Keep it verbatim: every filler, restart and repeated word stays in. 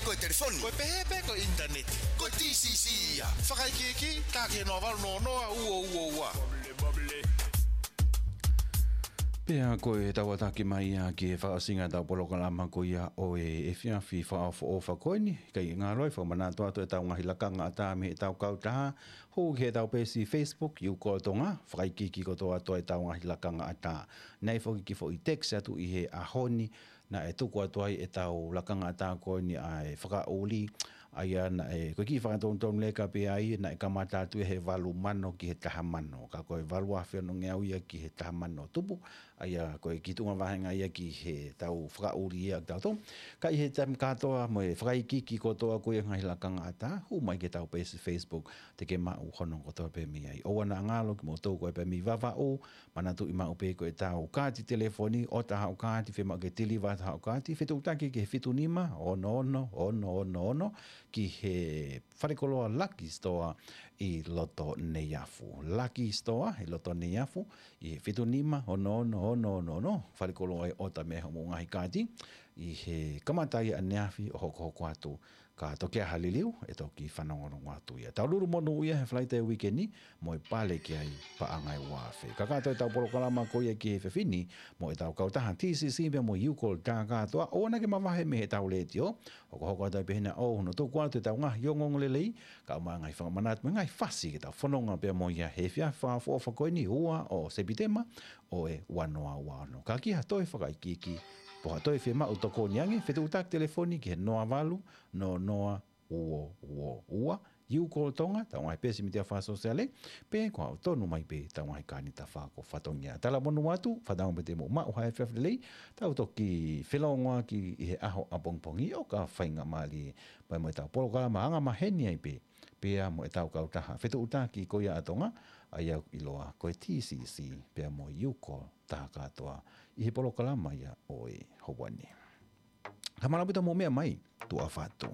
Ko e telefoni. Ko e pehē pē ko e ʻinitaneti. Ko e T C C ia. Fakaikiiki, tā ki he noa valu noa noa ua ua ua. Pea ko e tau tataki mai ia ki he fakaʻosinga ʻetau polokalama ko ia ʻo e efiafi fakaʻofoʻofa ko eni, kae ngalo ai fakamanatu atu ʻetau ngaahi lakanga ʻatā mei heʻetau kautaha, hū ki heʻetau peesi Facebook, You Call Tonga, fakaikiiki kotoa atu ʻetau ngaahi lakanga ʻatā. Naʻe foki ki he foʻi text atu ʻi he ʻaho ni, naʻe tuku atu ai ʻetau lakanga ʻatā ko eni ʻa e fakaʻuli, ʻa ia naʻe, ko e kiʻi fakatonutonu leka pē ai, naʻe kamata atu ia he valu mano ki he taha mano. Ka ko e valu afe ono ngeau ia ki he taha mano tupu, ʻa ia ko e kiʻi tuʻunga vāhenga ia ki heʻetau fakaʻuli ia ʻa kitautolu. Ka ʻi he taimi kātoa mo e fakaikiiki kotoa ko ia ngaahi lakanga ʻatā, hū mai ki heʻetau peesi Facebook, te ke maʻu hono kotoa pē mei ai. ʻOua naʻa ngalo kimoutolu ko ē pē mei Vavaʻu, manatuʻi maʻu pē ko ʻetau kaati telefoni, ʻota haʻo kaati, fiemaʻu ke tiliva atu haʻo kaati, fetuʻutaki ki he fitu nima, ono ono, ono ono ono, ki he falekoloa Lucky Store ʻi loto Neiafu. Lucky Store ʻi loto Neiafu, ʻi he fitu nima, ono ono, ono ono ono, falekoloa ʻe ʻota mei ai hoʻomou ngaahi kaati, ʻi he kamata ia ʻaneafi ʻo hokohoko atu, ka toki ʻi ai ha liliu, ʻe toki fanongonongo atu ia. Tau lulu monū ia he Falaite uike ni, mo e pale ki ai paʻanga ʻe ua afe. Kakato ʻetau polokalama ko ia ki he efiafi ni, mo ʻetau kautaha T C C pea mo e You Call tā kātoa, ʻoua naʻa ke mavahe mei heʻetau letiō, hokohoko atu ai pē hena ʻo hono tuku atu ʻetau ngaahi ongoongolelei, kae ʻumaʻā e ngaahi fakamanatu, mo e ngaahi fasi ke tau fononga pea mo ia he efiafi fakaʻofoʻofa ko eni ua ʻo Sepitema, ʻo e ua noa ua ono. Ka ki ha toe fakaikiiki, pe ha toe fiemaʻu tokoni ange, fetuʻutaki telefoni ki he noa valu, noa noa, ua ua ua, You Call Tonga, ʻetau ngaahi peesi mītia fakasōsiale, pe ko haʻo tonu mai pē ʻetau ngaahi kānita fako fatongia. Talamonū atu, fakatauange pē te mou maʻu ha efiafi lelei, tau toki felōngoaki ʻi he ʻaho ʻapongipongi ʻo ka faingamālie, pea mo ʻetau polokalama angamaheni ai pē, pea mo ʻetau kautaha fetuʻutaki ko ia ʻa Tonga, ʻa ia ʻoku ʻiloa ko e T C C, pea mo e You Call tā kātoa, ʻi he polokalama ia ʻo e houa ni. Ka mālō ʻaupito hoʻomou meʻa mai, tuʻa ʻofa atu.